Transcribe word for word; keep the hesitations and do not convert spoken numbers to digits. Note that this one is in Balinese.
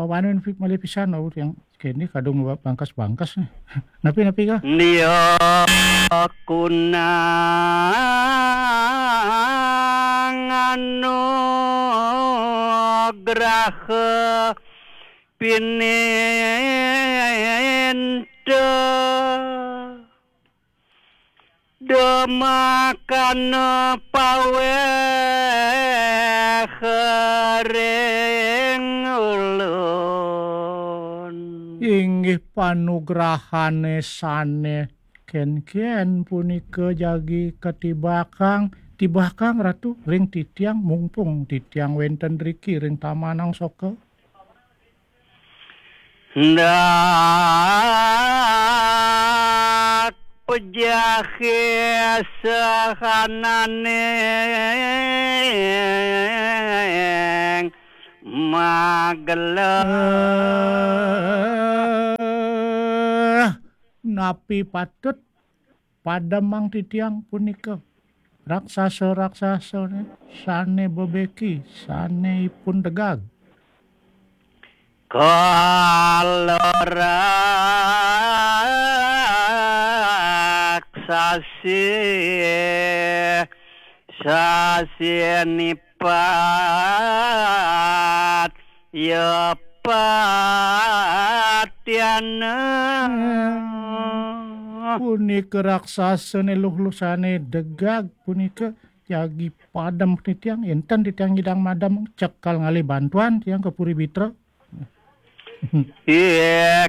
Pawanen pi-, malih pisan, oh, yang kene kadung ba-, bangkas-bangkas nih. Napi, napi kah? Dia kunang anugraha pininta Demakana paweh ring ulun. Inggih panugrahane sane ken-ken punika jagi katibakang, tibakang Ratu ring titiang, mumpung titiang wenten riki ring Taman Angsoka. Ndak pejahe sahananing magela. Eh, napi patut pademang titiang punika? Raksasa-raksasane sane bebeki, sane ipun degag. Kala raksasi sasinipat ya patiana. Punika raksasane luh-luh sane degag punika jagi padem titiang, enten titiang nyidang madem, cekal ngalih bantuan tiang ka Puri Bitra. Ih,